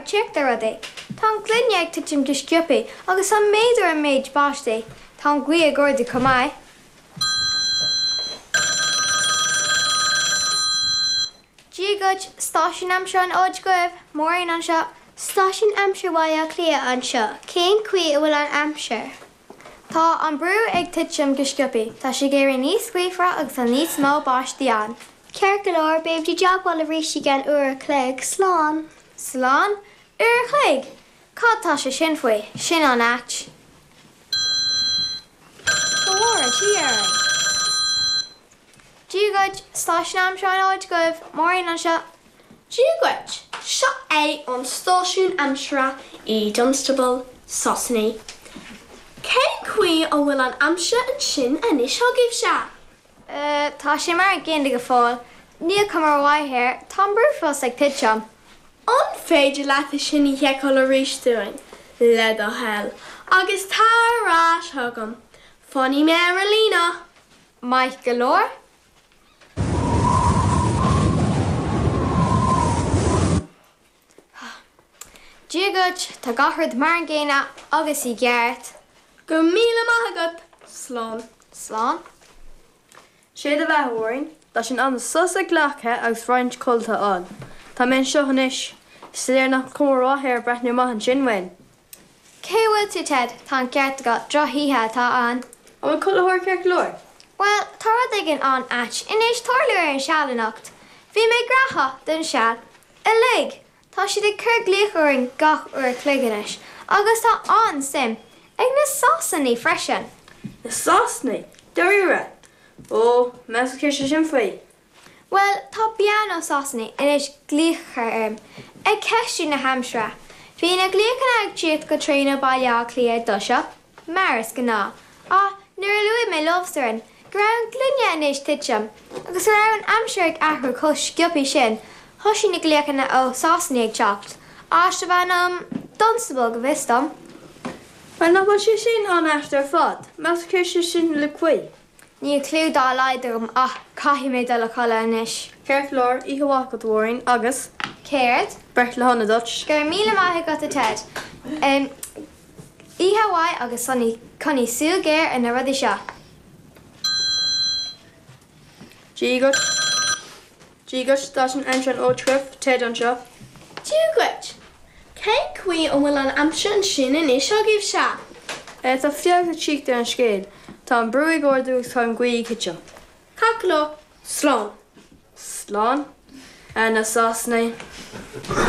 ag tíocht ar rudaí. Tá an gloine ag titim go sciobtha agus tá méadú ar an méid báistí. Tá an ghaoth ag ardú chomh maith. Dia dhuit, Stáisiún Aimsire an Fhóid chugaibh, Máirín anseo. Stáisiún Aimsire Bhaile Átha Cliath anseo, cén chaoi a bhfuil an aimsir? Tá an brú ag titim go sciobtha, tá sé ag éirí níos gaofara agus tá níos mó báistí ann. Ceart go leor, beimid i dteagmháil arís i gceann uair a chloig. Slán. Slán? Uair a chloig? Cad tá sé sin faoi? Sin an-ait. Go bhfóire Dia orainn. Dia dhuit, Stáisiún Aimsire an Fhóid chugaibh, Máirín anseo. Dia dhuit, seo é an stáisiún aimsire i Dunstable, Sasana. Cén chaoi a bhfuil an aimsir ansin anois agaibhse? Eh, tá sé mar an gcéanna go fóill. Níl cuma mhaith air, tá an brú fós ag titim. An féidir leat é sin a sheiceáil arís dúinn, le do thoil, agus tar ar ais chugam. Fanfaidh mé ar an líne. Maith go leor. Dia dhuit, tá gach rud mar an gcéanna agus i gceart. Go raibh míle maith agat. Slán. Slán. Sé do bheatha, a Mháirín. Tá sé in am sos a ghlacadh agus roinnt codlata a fháil. Tá mé anseo anois. Is léir nach cuma mhaith air breathnú amach ansin uainn. Cé bhfuil tú, Ted? Tá an ceart agat, drochoíche atá ann. An bhfuil codlaitheoir ceart go leor? Bhuel, tá rud éigin an-ait i ndiaidh tarlú ar an seal anocht. Bhí mé gnaitheach don seal uilig! Tá siad ag cur glaoch orainn gach uair a chloig anois, agus tá an-suim ag na Sasanaigh freisin. Na Sasanaigh? Dáiríre? Ó, meas tú céard sé sin faoi? Bhuel, tá bean ó Sasana i ndiaidh glaoch a chur orm, ag ceistiú na haimsire. Bhí na glaochanna ag tíocht go tréan ó Baile Átha Cliath i dtoiseach, mar is gnáth, ach nuair a luaigh mé leo sa Rinn go raibh an ghloine i ndiaidh titim agus go raibh an aimsir ag athrú chomh sciobtha sin, thosaigh na glaochanna ó Sasana ag teacht, áit darbh ainm Dunstable go bhfios dom. Bhuel, nach bhfuil sé sin an-ait ar fad? Meas tú céard sé sin uilig faoi? Níl cliú dá laghad agam ach caithfidh mé dul a chodladh anois. Ceart go leor, oíche mhaith agat a Mháirín, agus. Céard? Breithlá shona duit. Go raibh míle maith agat a Ted. Oíche mhaith agus coinnigh súil ghéar ar na rudaí seo. Dia dhuit. Dia dhuit, Stáisiún Aimsire an Fhóid chugaibh, Ted anseo. Dia dhuit. Cén chaoi a bhfuil an aimsir ansin anois agaibhse? Eh, tá feabhas ag tíocht ar an scéal. Tá an brú ag ardú agus tá an ghaoth ag titim. Ceart go leor. Slán. Slán? Ah, na Sasanaigh.